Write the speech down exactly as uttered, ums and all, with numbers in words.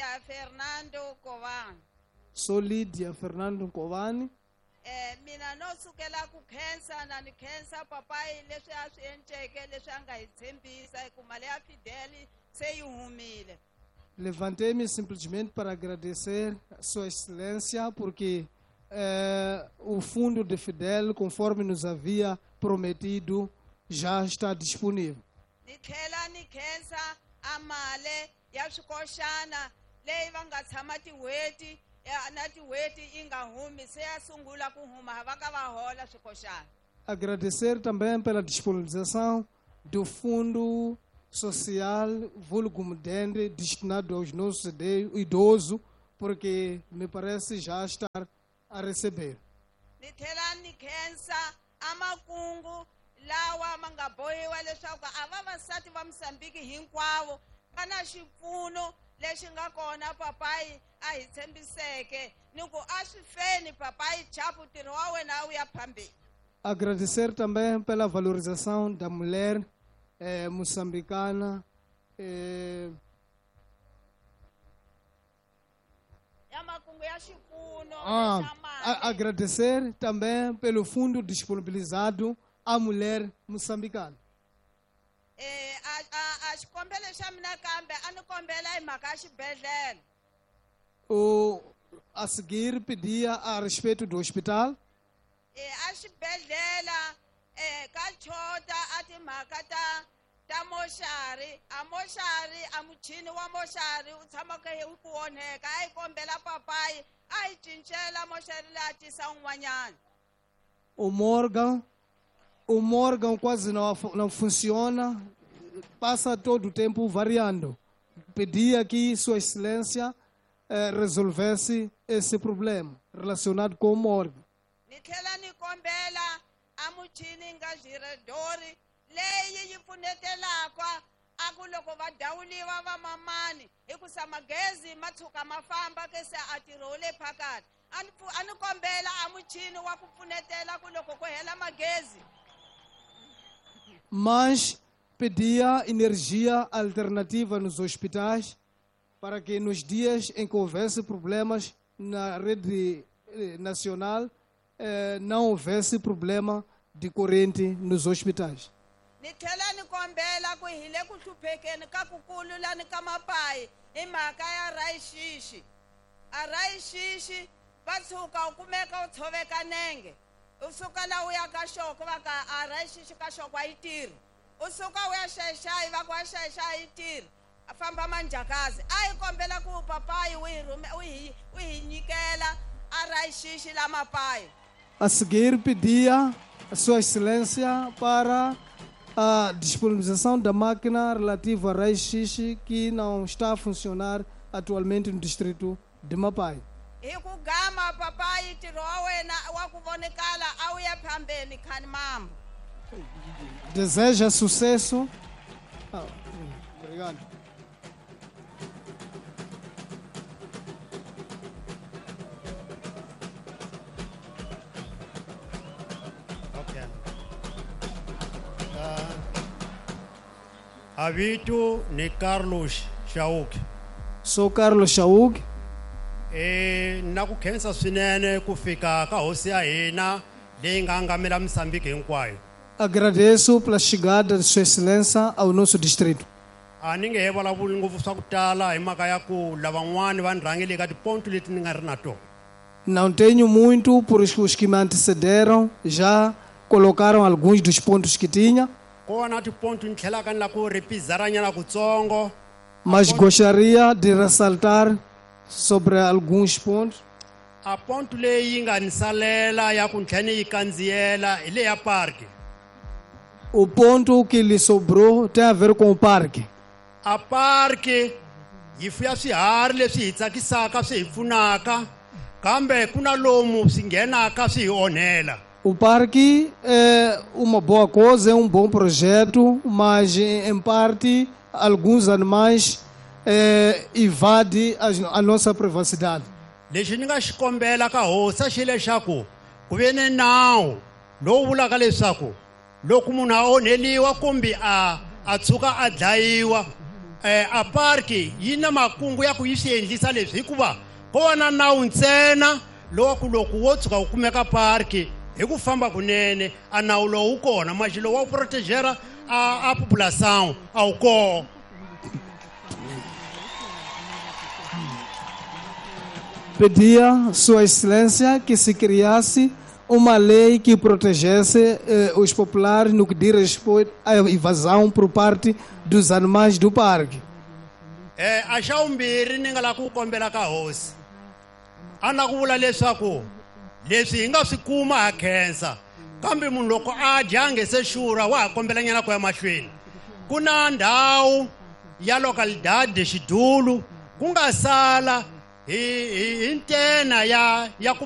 Lydia Fernando Nkovani. Sou Lídia Fernando Nkovani. Eh, mina no sukela ku khensa na ni khensa papai leswi a swi endleke leswi a nga hi tshembisa hi ku mali ya Fidel se yi humile. Levantei-me simplesmente para agradecer a Sua Excelência porque eh, o fundo de Fidel, conforme nos havia prometido, já está disponível. Ni tlhela ni khensa a mali ya swikoxana leyi va nga tshama tin'hweti ya, na tin'hweti yi nga humi se ya sungula ku huma va ka va hola swikoxana. Agradecer também pela disponibilização do Fundo Social Vulgo Mudende destinado aos nossos idosos, porque me parece já estar a receber. Ni tlhela ni khensa a makungu lawa ma nga bohiwa leswaku a vavasati va Mozambique hinkwavo va na xipfuno lexi nga kona papai a hi tshembiseke ni ku a swi feni papai chapu ntirho wa wena wu ya phambili. Agradecer também pela valorização da mulher eh, moçambicana eh, ya makungu ya xipfuno ah, xa mali. a, agradecer também pelo fundo disponibilizado à mulher moçambicana. Eh, a, a, a xikombelo xa mina kambe a ni kombela hi mhaka ya xibedhlele. O, a seguir pedia a respeito do hospital. Eh, a xibedhlele, eh, ka chota a timhaka ta, ta moxari, a moxari, a muchini wa moxari wu tshama ka wu ku onheka, a yi kombela papai a yi cincela moxari leyi a tisa un'wanyana. O Morgan, o Morgan quase não, não funciona, passa todo o tempo variando. Pedia que Sua Excelência eh, resolvesse esse problema relacionado com o Morgan. Ni tlhela ni kombela a muchini nga giradori leyi yi pfunetelaka a ku loko va dawuliwa va mamani hikusa magezi ma tshuka ma famba ke se a tirho le phakathi. A ni pfu-, a ni kombela a muchini wa ku pfunetela ku loko ku hela magezi. Mas pedia energia alternativa nos hospitais para que nos dias em que houvesse problemas na rede, eh, nacional, eh, não houvesse problema de corrente nos hospitais. Ni tlhela ni kombela ku hi le ku hluphekeni ka ku kulu lani ka mapayi hi mhaka ya rayixixi. A rayixixi va tshuka u kumeka u tshoveka nenge. U suka la u ya ka xoko va ka a rayixixi ka xoko a yi tirhi. U suka u ya xaxayi va ku a xaxayi yi tirhi. A famba manjhakazi. A hi kombela ku papayi u hi rhume, u hi, u hi nyikela a rayixixi la mapayi. A seguir pedia a Sua Excelência para a disponibilização da máquina relativa a raio-x que não está a funcionar atualmente no distrito de Mapai. Hi ku gama papai ntirho wa wena wa ku vonakala a wu ya phambeni khani mambo. Deseja sucesso. Ah, obrigado. Avito ni Carlos Shauk. Sou Carlos Shauk. Eh, na ku khensa swinene ku fika ka hosi ya hina leyi nga angamela Mozambique hinkwayo. Agradeço pela chegada de Sua Excelência ao nosso distrito. A ni nge he vulavuli ngopfu swa ku tala hi mhaka ya ku lavan'wani va ni rhangele eka tiponto leti ni nga ri na tona. Não tenho muito, por os que me antecederam já colocaram alguns dos pontos que tinha. Kona tiponto ni tlhelaka ni la ku ri pizaranyana kutsongo. Mas gostaria de ressaltar sobre alguns pontos. A ponto leyi yi nga ni salela ya ku ni tlhela ni yi kandziyela hi leya parque. O ponto que lhe sobrou tem a ver com o parque. A parque yi fuya swiharhi leswi hi tsakisaka swi hi pfunaka, kambe ku na lomu swi nghenaka swi hi onhela. O parque é uma boa coisa, é um bom projeto, mas em parte alguns animais, é, invadem a, a nossa privacidade. Lexi ni nga xi kombela ka hosi xi leswaku ku ve ni nawu lowu vulaka leswaku loko munhu a onheliwa kumbe a, a tshuka a dlayiwa, Eh, a parki yi na makungu ya ku yi swi endlisa leswi hikuva ko va na nawu ntsena lowa ku loko wo tshuka wu kumeka parki hi ku famba kunene a nawu lowu wu kona maxi lowu wa ku protegera a, a population a wu kona. Pedia Sua Excelência que se criasse uma lei que protegesse eh, os populares no que diz respeito à invasão por parte dos animais do parque. Eh, a xa vumbirhi ni nga lava ku kombela ka hosi a na ku vula leswaku leswi hi nga swi kuma ha khensa kambe munhu loko a dya a nge se xurha wa ha kombelanyana ku ya mahlweni. Ku na ndhawu ya localidade Xidulu ku nga sala hi hi hi ntena ya ya ku